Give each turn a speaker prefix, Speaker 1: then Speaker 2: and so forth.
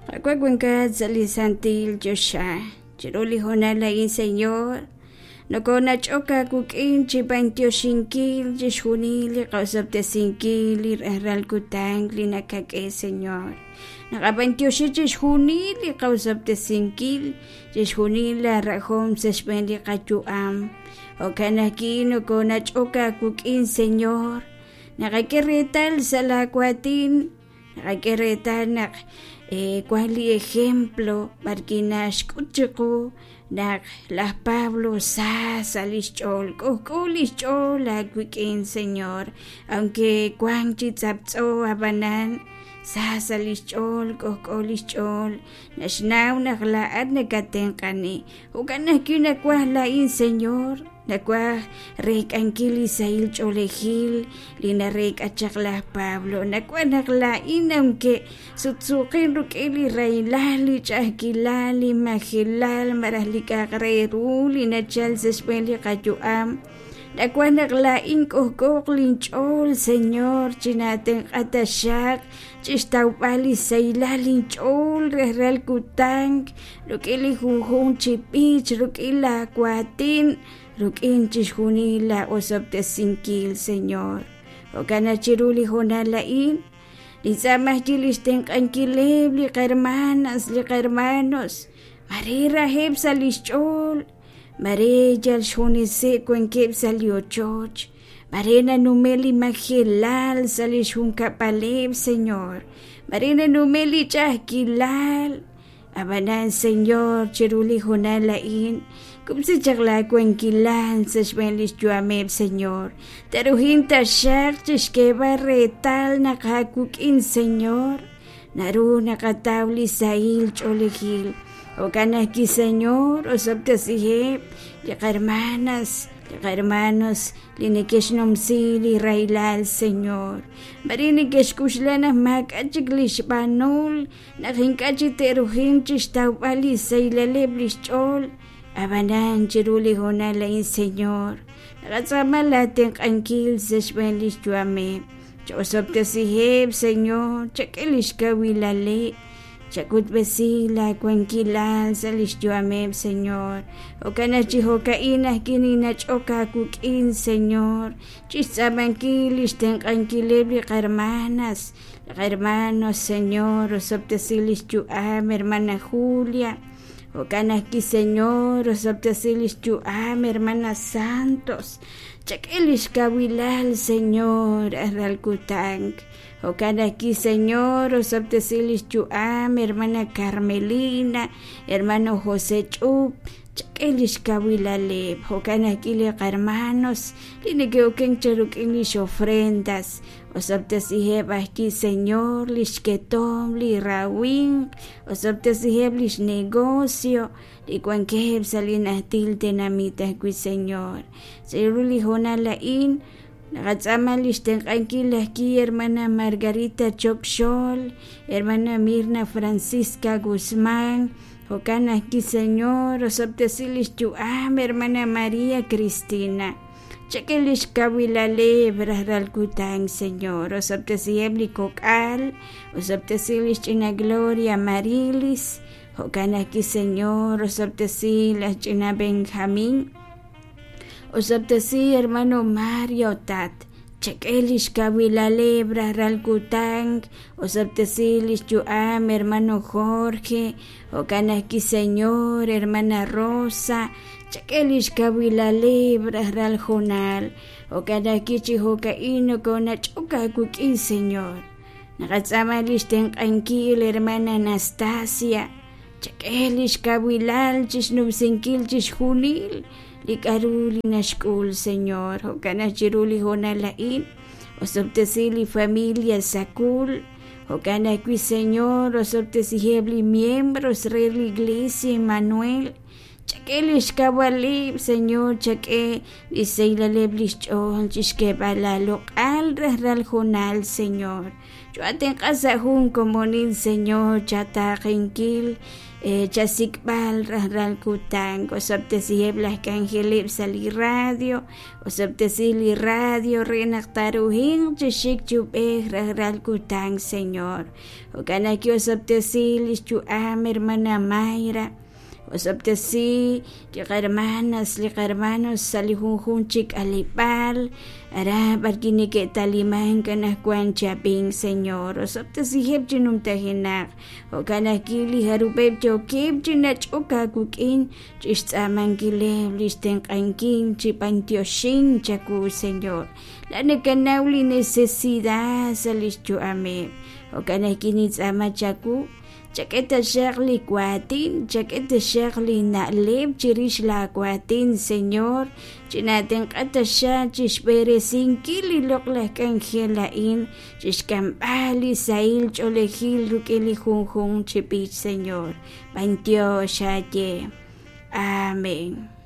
Speaker 1: Qaawa' wankat sa' li santil choxa, chiru li hoonal a'in, Señor, nokonach'ok aawik'in chi b'antioxinkil chixjunil li qosob'tesinkil li rajlal kutan li nakak'e, Señor. Naqab'antioxi chixjunil li qosob'tesinkil, chixjunil la rajom sa' xb'een li qayu'am. Jo'kan ajwi' nokonach'ok aawik'in, Señor, naqak'e reetal sa' laa waatin Naqak'e reetal naq wan li ejemplo b'arwi' naxk'ut chiqu naq laj Pablo sa sa' li xch'ool, k'ojk'o li xch'ool aawik'in Señor, aunque wank chi tz'aptz'o ab'anan sa sa' li xch'ool, k'ojk'o li xch'ool, naxnaw naq laa'at nakatenq'ani. Jo'kan ajwi' nawaj laa'in Señor. Nawaj reek'ankil li sahil ch'oolejil li nareek'a chaq laj Pablo. Nawaj naq laa'in aunque sutsuuqin rik'in li rahilal, li ch'a'ajkilal, li majelal malaj li k'a'aq re ru li nachal sa' xb'een li qayu'am. Nawaj naq laa'in k'ojk'ooq linch'ool, Señor, chinaatenq'a taxaq chixtawb'al li sahilal linch'ool rajlal kutan rik'in li junjunq chi b'ich, rik'in laa waatin, rik'in chixjunil laa osob'tesinkil, Señor. Jo'kan naq chiru li hoonal a'in, nintz'aama ajwi' lix tenq'ankileb' li qahermanas, li qahermanos, maare raheb' sa' lix ch'ool, maare yal xjuneseb' wankeb' sa' li ochoch, Mare nanume' li majelal sa' li xjunkab'aleb', Señor. Mare nanume' li ch'a'ajkilal. Ab'anan, Señor, chiru li hoonal a'in, kub'si chaq laawankilal sa' xb'een li xyu'ameb', Señor. Taruhin taxaq chixk'eeb'al reetal naq aawik'in, Señor, naru naqataw li sahil ch'oolejil. Jo'kan ajwi', Señor, osob'tesiheb' li qahermanas, li qahermanos li neke'xnumsi li rahilal, Señor. Mare neke'xk'oxla naq maak'a' chik li xb'aanul, naq ink'a' chik te'ruhinq chixtawb'al li xsahilaleb' li xch'ool. Ab'anan, chiru li hoonal a'in, Señor, naqatz'aama laatenq'ankil sa' xb'een li xyu'ameb'. Cha'osob'tesiheb', Señor, chak'e li xkawilaleb'. Chak'utb'esi laawankilal sa' li xyu'ameb', Señor. Jo'kan naq chi jo'ka'in ajwi' ninnach'ok aawik'in, Señor, chi xtz'aamankil li xtenq'ankileb' li qahermanas, li qahermanos, Señor, osob'tesi li xyu'am hermana Julia. Jo'kan ajwi', Señor, osob'tesi li xyu'am hermana Santos. Chak'e li xkawilal, Señor, rajlal kutan. Jo'kan ajwi', Señor, osob'tesi li xyu'am hermana Carmelina, hermano José Ch'up, chak'e li xkawilaleb'. Jo'kan ajwi' li qahermanos li neke'okenk chaq rik'in lix ofrendas, osob'tesiheb' ajwi', Señor, li xketomq, li rawimq, osob'tesiheb' lix negocio li wankeb' sa' li najtil tenamit ajwi', Señor. Chiru li hoonal a'in, Naqatz'aama li xtenq'ankil laj Ki, hermana Margarita Choc Xol, hermana Mirna Francisca Guzmán, jo'kan ajwi' Señor, osob'tesi li xyu'am, hermana María Cristina. Chak'e li xkawilaleb' rajlal kutan, Señor, osob'tesiheb' li kok'al, osob'tesi li xch'ina Gloria Marilis, jo'kan ajwi' Señor, osob'tesi laj ch'ina Benjamín. Osob'tesi hermano Mario Tat, chak'e li xkawilaleb' rajlal kutan, osob'tesi li xyu'am hermano Jorge, jo'kan ajwi' Señor, hermana Rosa, chak'e li xkawilaleb' rajlal hoonal, jo'kan ajwi' chi jo'ka'in nokonach'ok aawik'in Señor. Naqatz'aama li xtenq'ankil hermana Anastasia, Chak'e li xkawilal chi xnumsinkil chixjunil li k'aru li naxk'ul, Señor. Jo'kan naq chiru li hoonal a'in, osob'tesi li familia Sakul. Jo'kan ajwi', Señor, osob'tesiheb' li miembros re li Iglesia Emmanuel. Chak'e li xkawalib', Señor, chak'e li xsahilaleb' li xch'ool chi xk'eeb'al aaloq'al rajlal hoonal, Señor. Choohaatenq'a sa' jun komonil, Señor, chataaqenkil, chasik'b'al rajlal kutan. Osob'tesiheb' laj k'anjeleb' sa' li radio, osob'tesi li radio re naq taaruhinq chi xik chi ub'ej rajlal kutan, Señor. Jo'kan ajwi' osob'tesi lix yu'am hermana Mayra, osob'tesi li qahermanas, li qahermanos sa' li junjunq chi k'aleb'aal, aran b'arwi' neke'talimank anaqwan chi ab'ink, Señor. Osob'tesiheb' chi numtajenaq. Jo'kan ajwi' li jarub'eb' yookeb' chi nach'ok aawik'in chixtz'aamankileb' lix tenq'ankil chi b'antioxink chawu, Señor. Laa'at nakanaw li necesidad sa' lix yu'ameb'. Jo'kan ajwi' nintz'aama chawu, chak'e taxaq li waatin, chak'e taxaq li na'leb' chirix laa waatin, Señor, chinaatenq'a taxaq chixb'eresinkil li loq'laj k'anjel a'in, chixk'amb'al li sahil ch'oolejil rik'in li junjunq chi b'ich, Señor. B'antiox aaye. Amén.